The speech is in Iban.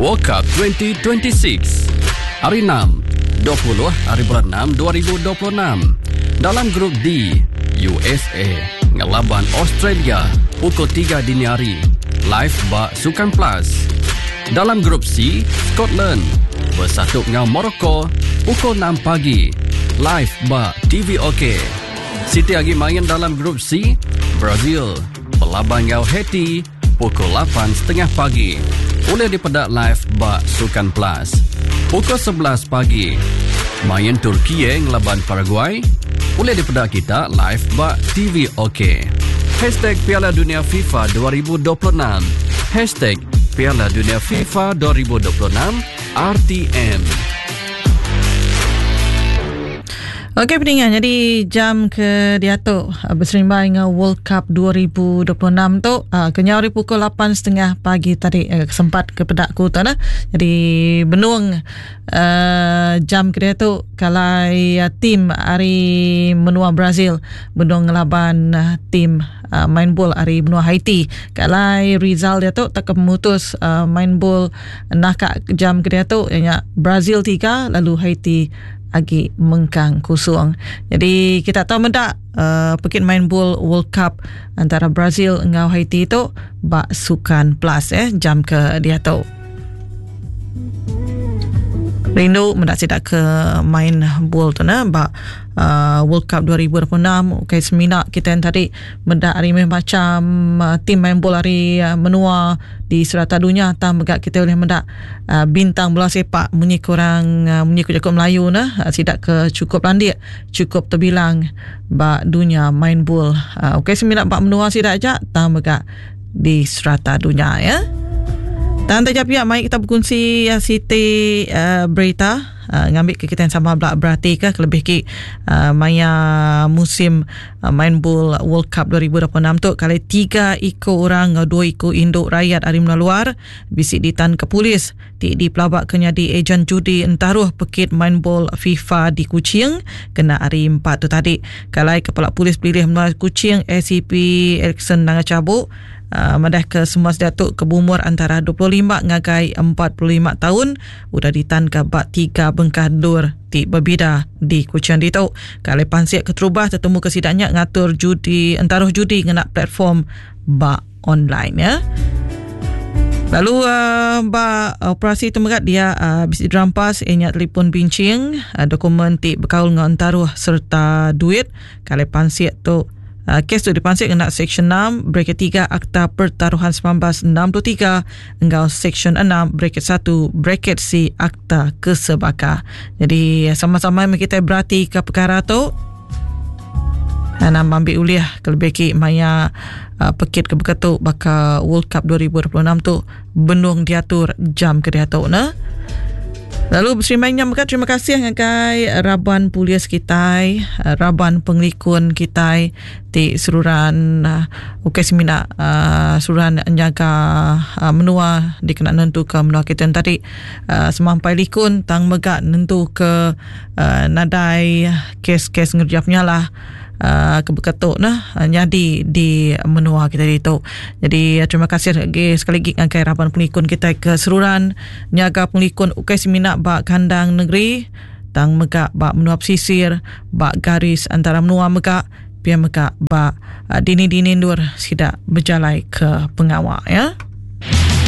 World Cup 2026 Hari Enam, 20 hari bulan Enam 2026 dalam Grup D, USA ngelaban Australia pukul tiga dini hari live ba Sukan Plus. Dalam Grup C, Scotland besatup enggau Morocco pukul enam pagi live ba TVOK. Siti agi main dalam Grup C, Brazil belaban enggau Haiti pukul lapan setengah pagi ulih dipeda live ba Sukan Plus. Pukul 11 pagi, main Turkiye ngelaban Paraguay ulih dipeda kita live ba TV OK. Hashtag Piala Dunia FIFA 2026 Hashtag Piala Dunia FIFA 2026 RTM. Okey peninga jadi jam ke diatu eh, berserimbai dengan World Cup 2026 tu eh, kenyau hari pukul 8.30 pagi tadi eh, sempat ke pedak ku tu nah. Jadi benung jam ke diatu kalai tim ari menua Brazil benung ngelaban tim main bol ari menua Haiti. Kalai result diatu tak pemutus main bol naka jam ke diatu ianya Brazil 3 lalu Haiti agi mengkang kusung. Jadi kita tahu meda uh, pekit main bol World Cup antara Brazil enggau Haiti tu ba Sukan Plus eh jam ke diatu. Rindu meda sida ke main bol tu nah ba uh, World Cup 2026 okay semina kita yang tadi meda ari meh macam uh, tim main bol ari uh, menua di serata dunia tang mega kita boleh meda uh, bintang bola sepak munyi kurang uh, munyi ku jaku Melayu nah uh, sida ke cukup landik cukup terbilang ba dunia main bol uh, okay semina ba menua sida aja tang mega di serata dunia ya. Dan taja pia mai kita berkongsi uh, siti uh, berita uh, ngambil ke kita yang sama belak berhati ke kelebih ki uh, maya musim uh, main bol World Cup 2026 tu kali tiga iko orang enggau dua iko induk rakyat ari menua luar bisi ditan ke polis ti dipelaba ke nyadi ejen judi entaruh pekit main bol FIFA di Kuching kena hari empat tu tadi. Kalai Kepala Polis Pelilih Menua Kuching ACP Erickson Nanga Chabuk uh, madah ke semua sida tu ke berumur antara 25 ngagai 45 taun udah ditanka ba tiga bengkah endur ti bebida di Kuching ditu. Kalai pansik keterubah tetemu ke sida nya ngatur judi entaruh judi ngena platform ba online ya. Lalu uh, ba operasi tu mega dia uh, bisi dirampas iya nya telefon bincing, uh, dokumen ti bekaul enggau entaruh sereta duit. Kali pansik tu uh, kes tu dipansik ngena Seksyen 6 bracket 3 Akta Pertaruhan 1963 enggau Seksyen 6 bracket 1 bracket C Akta Kesebaka. Jadi sama-sama meh kitai beratika perkara tu. Nama ambil ulih kelebih agi maya uh, pekit ke beketu baka World Cup 2026 tu benung diatur jam ke diatu ne. Lalu beserimbai nya mega terima kasih ngagai raban polis kitai, uh, raban pengelikun kitai ti seruran uh, ukai semina uh, seruran nyaga uh, menua dikena nentuka menua kita tadi uh, semampai likun tang mega nentuka uh, nadai kes-kes ngereja penyalah uh, ke beketu nah nyadi di menua kita ditu. Jadi terima kasih lagi sekali lagi ngagai raban pengelikun kita ke seruran nyaga pengelikun ukai semina ba kandang negeri tang mega ba menua pesisir ba garis antara menua mega pia mega ba dini-dini endur sida bejalai ke pengawa ya.